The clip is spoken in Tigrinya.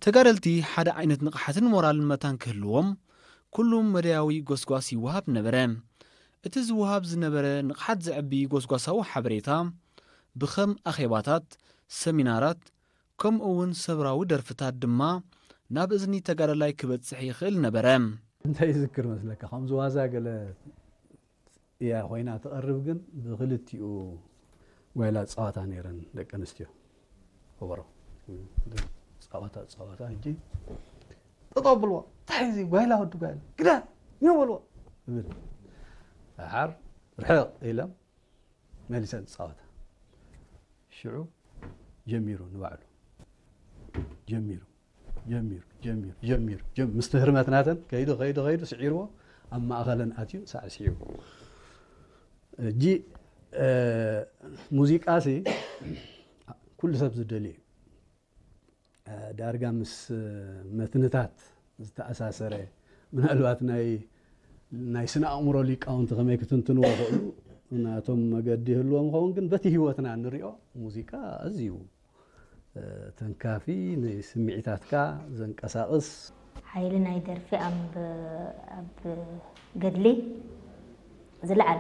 ተጋደልቲ ሓደ ዓይነት ንቕሓትን ሞራልን መታን ክህልዎም ኩሉ መደያዊ ጎስጓስ ይወሃብ ነበረ። እቲ ዝወሃብ ዝነበረ ንቕሓት ዘዕቢ ጎስጓሳዊ ሓበሬታ ብኸም ኣኼባታት፣ ሰሚናራት፣ ከምኡ እውን ሰብራዊ ደርፍታት ድማ ናብ እዝኒ ተጋዳላይ ክበጽሕ ይኽእል ነበረ። እንታይ ይዝክር መስለካ? ከምዚ ዋዛ ገለ እያ ኮይና ትቐርብ፣ ግን ብክልቲኡ ጓይላ ጸዋታ ነይረን ደቂ ኣንስትዮ። ከበሮ ጸዋታ ጸዋታ። ሕጂ ጠጠው ብልዎ፣ እንታይ እዚ ጓይላ፣ ወዲ ጓይላ፣ ግዳ ኒዮ በልዎ እብል። ደሓር ርሕቕ ኢሎም መሊሰን ጸዋታ። ሽዑ ጀሚሩ ንባዕሉ ጀሚሩ ጀሚሩ ጀሚሩ ጀሚሩ ጀም-፣ ምስቲ ህርመት ናተን ከይዱ ከይዱ ከይዱ ስዒርዎ፣ ኣብ ማእኸለን ኣትዩ ሳዕስዒዎ። እጂ ሙዚቃሲ ኩሉ ሰብ ዝደልዩ እዩ። ዳርጋ ምስ መትንታት ዝተኣሳሰረ፣ ምናልባት ናይ ናይ ስነ ኣእምሮ ሊቃውንቲ ከመይ ክትንትንዎ ይኽእሉ፣ ናቶም መገዲ ይህልዎም ይኸውን፣ ግን በቲ ህይወትና እንሪኦ ሙዚቃ ኣዝዩ ተንካፊ፣ ንስምዒታትካ ዘንቀሳቕስ። ሓይሊ ናይ ደርፊ ኣብ ኣብ ገድሊ ዝለዓለ።